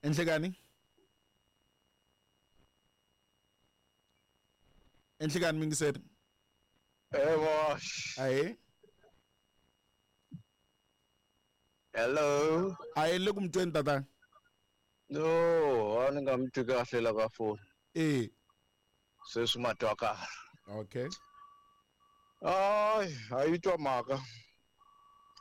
Enhlekani. Enhlekani mingiseri. Evo. Ahe. Hello. Ahe le ku mi tweni tatana. No, a ni nga mi twi kahle la ka foni. Eh. Sweswi ma twa kahle. Okay. Ay, a yi twa mhaka.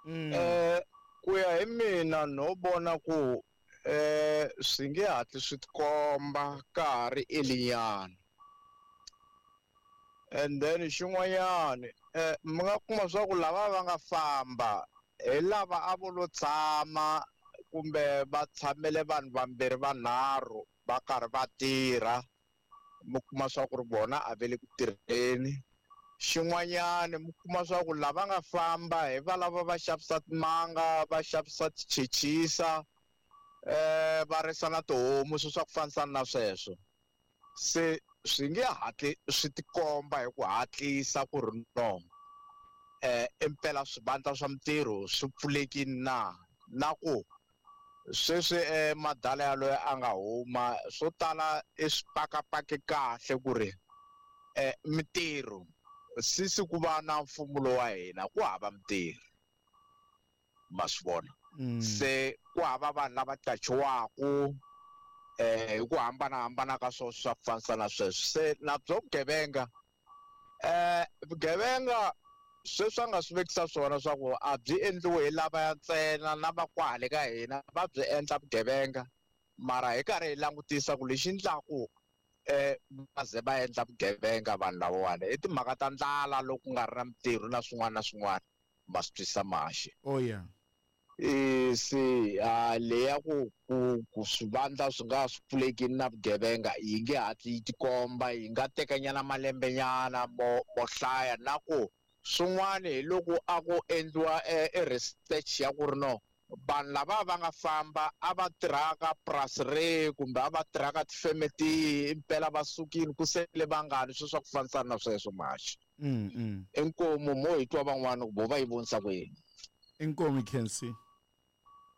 Eh, ku ya hi mina no vona ku eh swi nge hatli swi tikomba ka ha ri elinyana. And then xin'wanyana eh mi nga kuma swa ku lava va nga famba hi lava a vo lo tshama kumbe va tshamele vanhu vambirhi vanharhu va karhi va tirha mi kuma swa ku ri vona a ve le ku tirheni xin'wanyana mi kuma swa ku lava nga famba hi va lava va xavisa timanga va xavisa tichechisa eh va risa na tihomu swi swa ku fanisana na sweswo se swi nge hatli swi tikomba hi ku hatlisa ku ri no eh impela swivandla swa mintirho swi pfulekile na na ku sweswi eh, madala yaloye a nga huma swo tala i swi pakapaki kahle ku ri eh, mintirho sisi ku va na mfumo lowa hina ku hava mintirho ma swi vona se ku hava vanhu lava qachiwaku eh hi ku hambanahambana ka swona swa ku fanisa na sweswo se na byo vugevenga eh vugevenga sweswi a nga swi vekisa swona swa ku a byi endliwi hi lavaya ntsena na va kwale ka hina va byi endla vugevenga mara hi karhi hi langutisa ku lexi endlaku eh va ze va endla vugevenga vanhu lavawani i timhaka ta ndlala loko ku nga ri na mintirho na swin'wana na swin'wana ma swi twisa maxi Oh yeah. E se a leya ku ku ku swivandla swi nga swi pfulekini na vugevenga yi nge hatli yi tikomba yi nga tekanyana malembenyana mo mo hlaya na ku swin'wana hi loko a ku endliwa e research ya ku ri no vanhu lava va nga famba a va tirhaka purasi rihi kumbe a va tirhaka tifeme tihi impela va sukile ku sele vangani sweswi swa ku fanisana na sweswo maxi inkomu mo hi twa van'wana ku vo va yi vonisa ku yini Inkomu Kensi.